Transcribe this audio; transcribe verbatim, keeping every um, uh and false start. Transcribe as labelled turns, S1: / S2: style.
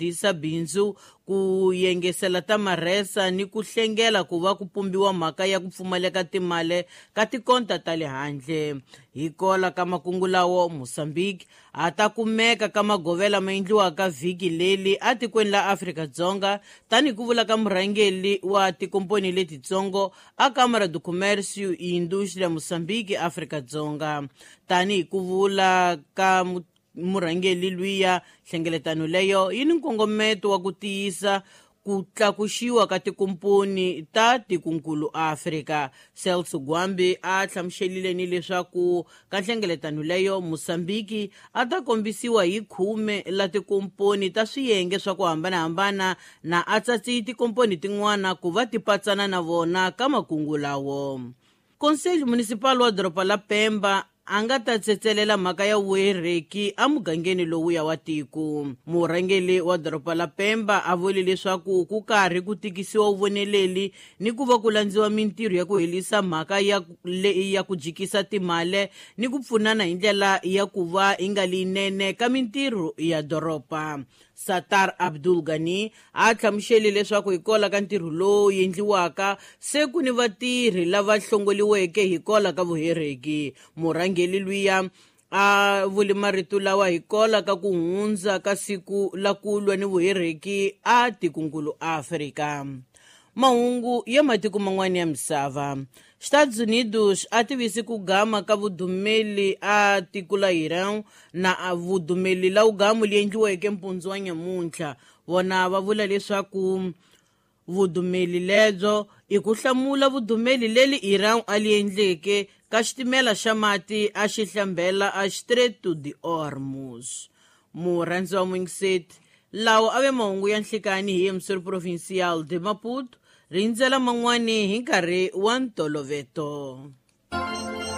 S1: Disa bindzu ku yengesela ta marhesa ni ku hlengela ku va ku pumbiwa mhaka ya ku pfumaleka timali ka tikonta ta le handle. Hi kola ka makungu lawo, Mozambique a ta kumeka ka magovela ma endliwaka vhiki leli atikweni la Afrika-Dzonga, tanihi ku vula ka murhangeri wa tikomponi letitsongo a Câmara do Comércio e Indústria Mozambique Afrika-Dzonga. Tanihi ku vula ka murhangeri luya, nhlengeletano leyo yi ni nkongometo wa ku tiyisa ku tlakuxiwa ka tikomponi ta tikunkulu Afrika. Celso Gwambi a hlamuselile ni leswaku ka nhlengeletano leyo Mozambique a ta kombisiwa hi khume la tikomponi ta swiyenge swa ku hambanahambana na a tsatsi tikomponi tin'wana ku va ti patsana na vona ka makungu lawo. Conselho Municipal wa doroba la Pemba a nga ta tsetselela mhaka ya vuhereki emugangeni lowuya wa tiko. Murhangeri wa doroba la Pemba a vule leswaku ku karhi ku tikisiwa vuvoneleli ni ku va ku landziwa mintirho ya ku herisa mhaka ya leyi ya ku jikisa timali ni ku pfunana hi ndlela ya ku va yi nga leyinene ka mintirho ya doroba. Satar Abdul Ghani a hlamusele leswaku hikwalaho ka ntirho lowu endliwaka se ku ni vatirhi lava hlongoliweke hikwalaho ka vuhereki. Murhangeri luya a vule marito lawa hikwalaho ka ku hundza ka siku la ku lwa ni vuhereki a tikunkulu Afrika. Mahungu ya matiko man'wana ya misava. Estados Unidos a tivisi ku gama ka vudumeli a tiko la Iran na a vudumeli la ugamu li endliweke mpundzu wa nyamuntlha. Vona va vula leswaku vudumeli lebyo i ku hlamula vudumeli leli Iran a li endleke ka xitimela xa mati a xi hlambela a Strait de Hormuz. Murhandzi wa Mwingiseti, lawa a ve mahungu ya nhlikani hi Emissor Provincial de Maputo. Rindzela man'wani hi nkarhi wa ntoloveto.